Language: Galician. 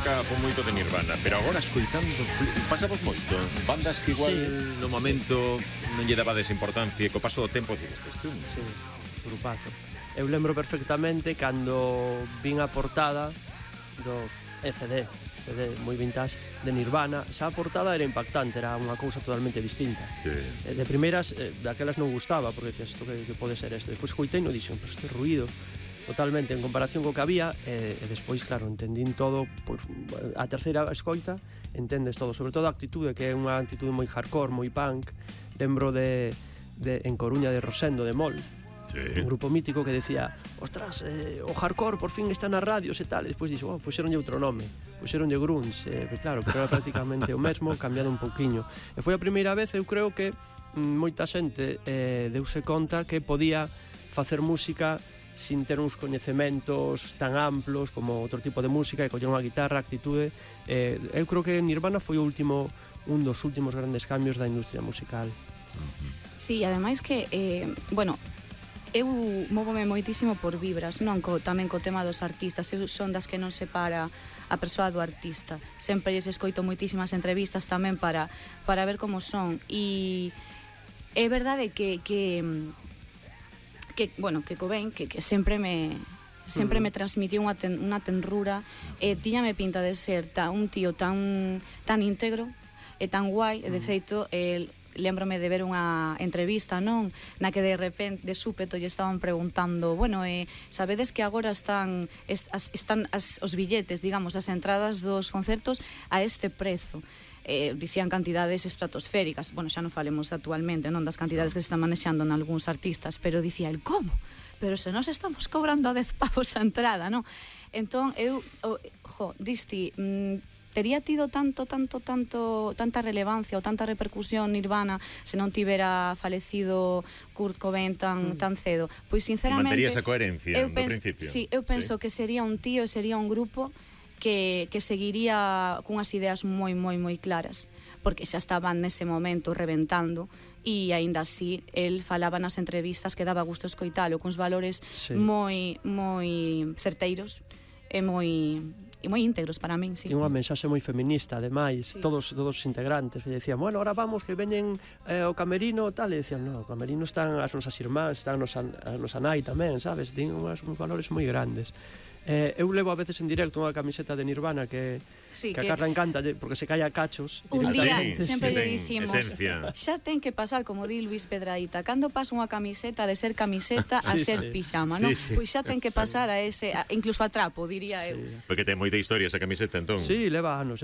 época foi moito de Nirvana, pero agora escoitando pasamos moito. Bandas que igual no momento non lle dabades importancia e co paso do tempo dices, isto Sí, grupazo. Eu lembro perfectamente cando vin a portada do CD moi vintage de Nirvana. Xa a portada era impactante, era unha cousa totalmente distinta. Sí. De primeiras, daquelas non gustaba, porque decías, isto que pode ser isto? Depois coitei e dixen, pero este ruido totalmente en comparación co que había, e despois, claro, entendín todo, pois, a terceira escoita entendes todo, sobre todo a actitude, que é unha actitude moi hardcore, moi punk. Lembro de en Coruña de Rosendo de Mol, un grupo mítico que decía, ostras, o hardcore por fin está nas radios e tal, e despois dixo, puxeronlle outro nome, puxeronlle grunge, claro, pero era prácticamente o mesmo, cambiado un pouquiño. E foi a primeira vez, eu creo que moita xente deuse conta que podía facer música sin ter uns coñecementos tan amplos como outro tipo de música, e coller unha guitarra, actitude. Eu creo que Nirvana foi un dos últimos grandes cambios da industria musical. Sí, ademais que, bueno, eu móvome moitísimo por vibras, non tamén co tema dos artistas. Eu son das que non separa a persoa do artista. Sempre lles escoito moitísimas entrevistas tamén para ver como son. E é verdade que bueno, que Cobain, que sempre me transmitiu unha tenrura, e tiñame pinta de ser un tío tan íntegro e tan guai, e de feito lembrome de ver unha entrevista, non, na que de repente, de súpeto, lle estaban preguntando, bueno, sabedes que agora están os billetes, digamos, as entradas dos concertos a este prezo. Dicían cantidades estratosféricas, bueno, xa non falemos actualmente, non, das cantidades que se están manexando en algúns artistas, pero dicía el, como? Pero se nos estamos cobrando a 10 pavos a entrada, non? Entón, eu, disti, tería tido tanta relevancia ou tanta repercusión Nirvana se non tivera falecido Kurt Cobain tan cedo? Pois sinceramente, mantería esa coherencia do principio. Sí, eu penso que sería un tío e sería un grupo que seguiría cunhas ideas moi claras, porque xa estaban nese momento reventando, e aínda así el falaba nas entrevistas que daba gusto escoitalo, cuns valores moi certeiros e moi íntegros para min, sí. E unha mensaxe moi feminista, ademais, todos os integrantes que decían, bueno, ahora vamos, que veñen o camerino, tal, e decían, no, o camerino están as nosas irmás, están a nosa nai tamén, sabes, ten uns valores moi grandes. Eu levo a veces en directo unha camiseta de Nirvana que a Carla encanta, porque se cae a cachos. Un día sempre lle dicimos, xa ten que pasar, como di Luis Pedraíta, cando pasa unha camiseta de ser camiseta a ser pixama, non? Pois xa ten que pasar a ese, incluso a trapo, diría eu. Porque ten moita historia esa camiseta, entón. Sí, leva anos.